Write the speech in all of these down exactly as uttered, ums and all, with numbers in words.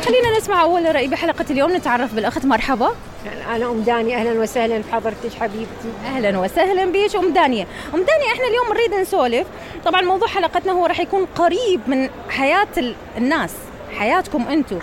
خلينا نسمع أول رأي بحلقة اليوم. نتعرف بالأخت. مرحبا. أنا أم دانية، أهلا وسهلا بحضرتك حبيبتي. أهلا وسهلا بيش أم دانية. أم دانية إحنا اليوم نريد نسولف، طبعا موضوع حلقتنا هو رح يكون قريب من حياة الناس، حياتكم أنتم.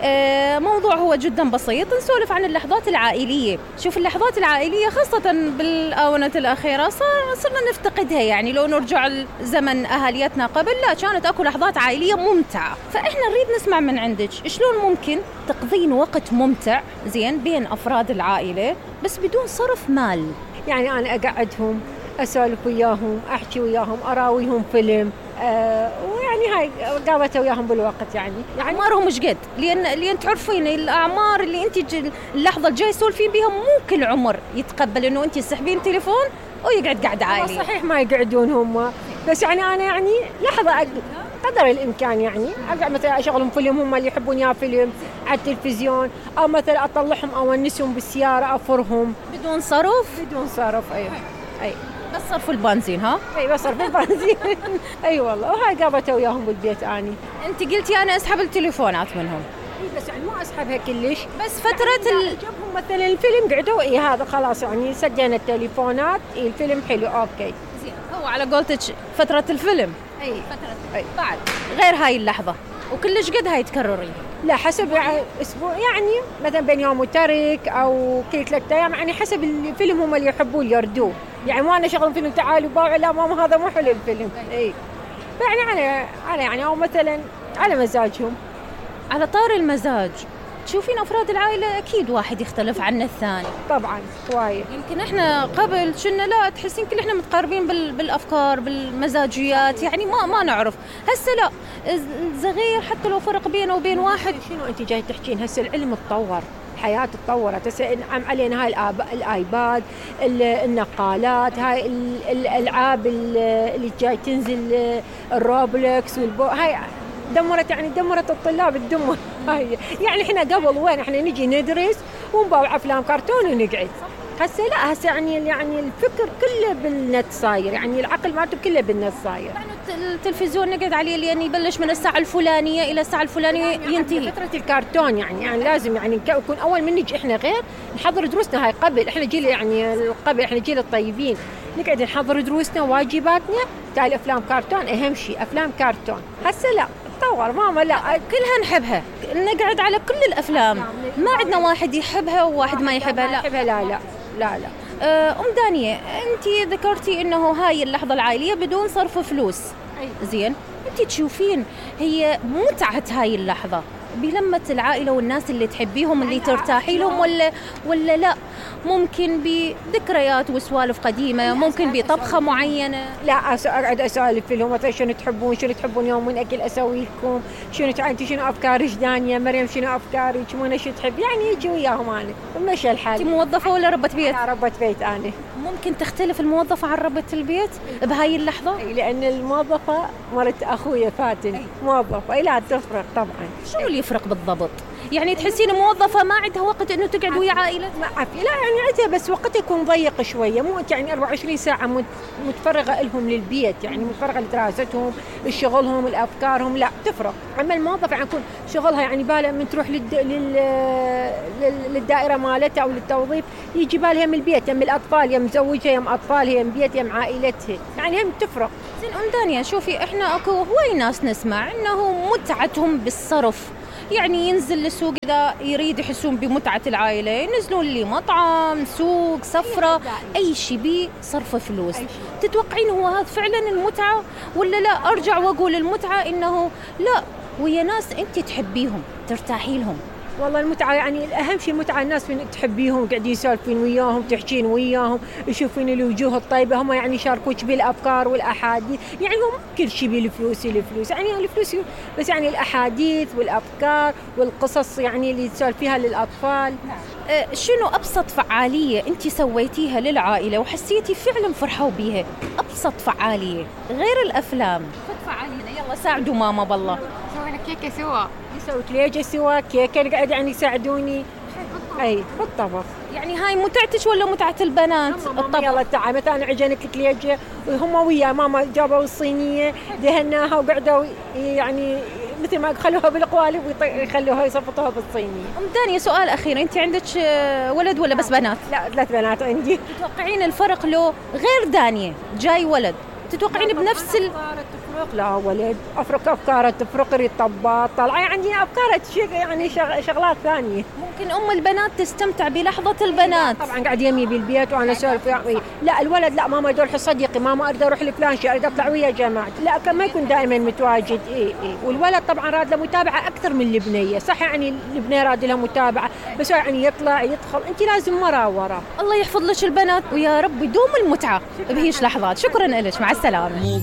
آه موضوع هو جدا بسيط، نسولف عن اللحظات العائلية. شوف اللحظات العائلية خاصة بالآونة الأخيرة صار صرنا نفتقدها، يعني لو نرجع لزمن أهاليتنا قبل لا كانت أكو لحظات عائلية ممتعة. فإحنا نريد نسمع من عندك شلون ممكن تقضين وقت ممتع زين بين أفراد العائلة بس بدون صرف مال. يعني أنا أقعدهم أسولف وياهم، أحكي وياهم، أراويهم فيلم، آه ويعني هاي قابته وياهم بالوقت. يعني يعني أعمارهم مش قد، لأن لأن تعرفين الأعمار اللي أنت اللحظة الجاي تسولفين بيها مو كل عمر يتقبل إنه أنت تسحبين تليفون ويقعد قاعد عائلي. صحيح ما يقعدون هم، بس يعني أنا يعني لحظة قدر الإمكان يعني أقعد مثلا أشغلهم فيلم هم اللي يحبون يا فيلم على التلفزيون، أو مثلا أطلعهم أو أنسهم بالسيارة أفرهم بدون صرف. بدون صرف أيوة. أي بس صرف البنزين. ها اي بس صرف البنزين. اي والله. وهاي قابته وياهم بالبيت. اني انت قلتي انا اسحب التليفونات منهم. اي بس يعني مو اسحبها كلش، بس فتره يعني ال... جابهم مثلا الفيلم قعدوا اي هذا خلاص يعني سجلنا التليفونات. اي الفيلم حلو اوكي زين. هو على قولتك فتره الفيلم. اي فتره أي. بعد غير هاي اللحظه وكلش قد هاي تكررين؟ لا حسب يعني اسبوع، يعني مثلا بين يوم وترك او كل ثلاث ايام، يعني حسب الفيلم هم اللي يحبون يردوه. يعني ما انا شغل فيلم تعالوا باوع لا ماما هذا مو حلو الفيلم. اي يعني على على يعني او مثلا على مزاجهم. على طار المزاج، تشوفين افراد العائله اكيد واحد يختلف عن الثاني. طبعا وايد. يمكن احنا قبل كنا لا تحسين كل احنا متقاربين بالافكار بالمزاجيات، يعني ما ما نعرف. هسه لا، الصغير حتى لو فرق بينه وبين واحد. شنو انت جاي تحكين؟ هسه العلم تطور، الحياة تطورت، هسه انعم علينا هاي الايباد، النقالات، هاي الالعاب اللي جاي تنزل، الروبلكس والبو هاي دمرت يعني دمرت الطلاب الدمر. هاي يعني احنا قبل وين احنا نجي ندرس ونباوع افلام كرتون ونقعد. هسه لا، هسه يعني يعني الفكر كله بالنت صاير، يعني العقل مالته كله بالنت صاير. يعني التلفزيون نقعد عليه لأن يبلش من الساعة الفلانية إلى الساعة الفلانية يعني ينتهي. فترة الكرتون يعني يعني لازم يعني نكون أول من نجي إحنا غير نحضر دروسنا. هاي قبل إحنا جيل يعني قبل إحنا جيل الطيبين نقعد نحضر دروسنا واجباتنا، تالي أفلام كرتون أهم شيء أفلام كرتون. هسه لا تطور ماما لا كلها نحبها، نقعد على كل الأفلام، ما عندنا واحد يحبها وواحد ما يحبها. لا يحبها لا لا لا لا. أم دانية أنت ذكرتي إنه هاي اللحظة العائلية بدون صرف فلوس. زين، أنت تشوفين هي متعة هاي اللحظة بلمة العائلة والناس اللي تحبيهم اللي ترتاحي لهم، ولا ولا لا ممكن بذكريات وسوالف قديمة، ممكن بطبخة معينة؟ لا أقعد أسولف لهم مثلا شنو تحبون، شنو تحبون يوم من أكل أسوي لكم، شنو تعرفي شنو أفكارك دانية مريم، شنو أفكارك منى شو تحب، يعني يجي وياهم أنا ومشي الحال. أنت موظفة ولا ربة بيت؟ أنا ربة بيت. أنا ممكن تختلف الموظفة عن ربة البيت بهاي اللحظة؟ لأن الموظفة مرت أخويا فاتن موظفة. لا تفرق طبعا. شو اللي يفرق بالضبط؟ يعني تحسين موظفة ما عندها وقت إنه تقعد ويا عائلتها؟ ما عفي لا يعني عندها بس وقتها يكون ضيق شوية، مو يعني أربعة وعشرين ساعة متفرغة لهم للبيت، يعني متفرغة لدراستهم لشغلهم لأفكارهم. لا تفرق. أما الموظفة يعني يكون شغلها يعني بالها من تروح للد... لل... لل... للدائرة مالتها أو للتوظيف يجي بالها من البيت، يم الأطفال، يم زوجها، يم أطفالها، يم بيت، يم عائلتها، يعني هم تفرق. زين أم دانية شوفي إحنا أكو هواي ناس نسمع إنه متعتهم بالصرف، يعني ينزل للسوق إذا يريد يحسون بمتعة العائلة ينزلون لي مطعم سوق سفرة أي شيء بصرف فلوس. تتوقعين هو هذا فعلا المتعة ولا لا؟ أرجع وأقول المتعة إنه لا ويا ناس أنت تحبيهم ترتاحي لهم. والله المتعة يعني الأهم شيء المتعة الناس تحبيهم قاعدين يسولفين وياهم تحكين وياهم يشوفين الوجوه الطيبة، هم يعني يشاركوك بالأفكار والأحاديث، يعني هم كل شيء بالفلوس الفلوس يعني الفلوس بس يعني الأحاديث والأفكار والقصص يعني اللي تسولفيها للأطفال. أه شنو أبسط فعالية أنت سويتيها للعائلة وحسيتي فعلا فرحوا بيها؟ أبسط فعالية غير الأفلام. فت فعالينا يلا ساعدوا ماما بالله. سوينا كيكة سوا، يسوي كليجة سوا، كيكة قاعد يعني يساعدوني. أي بالطبخ. يعني هاي متعتش ولا متعة البنات؟ الطبخ. يلا تعال مثلا أنا عجنت كليجة وهم ويا ماما جابوا الصينية دهناها وقعدوا يعني مثل ما خلوها بالقوالب ويخلوها يصفطوها بالصينية. ام دانية سؤال اخير، انت عندك ولد ولا بس بنات؟ لا ثلاث بنات عندي. تتوقعين الفرق لو غير دانية جاي ولد تتوقعين بنفس ال... تفرق؟ لا ولد افرق افكار تفرق، يريد طباط طالعه عندنا افكار يعني شغلات ثانيه. ممكن ام البنات تستمتع بلحظه البنات. طبعا قاعد يمي بالبيت وانا اسولف يعني. لا الولد لا ماما يروح صديقي، ماما اريد اروح لفلان شيء، اريد اطلع ويا جماعه، لا كان ما يكون دائما متواجد. اي اي والولد طبعا راد له متابعه اكثر من البنيه، صح يعني البنيه راد لها متابعه بس يعني يطلع يدخل، انت لازم مرا ورا. الله يحفظ لك البنات ويا رب يدوم المتعه بهيش لحظات. شكرا لك، مع السلامه.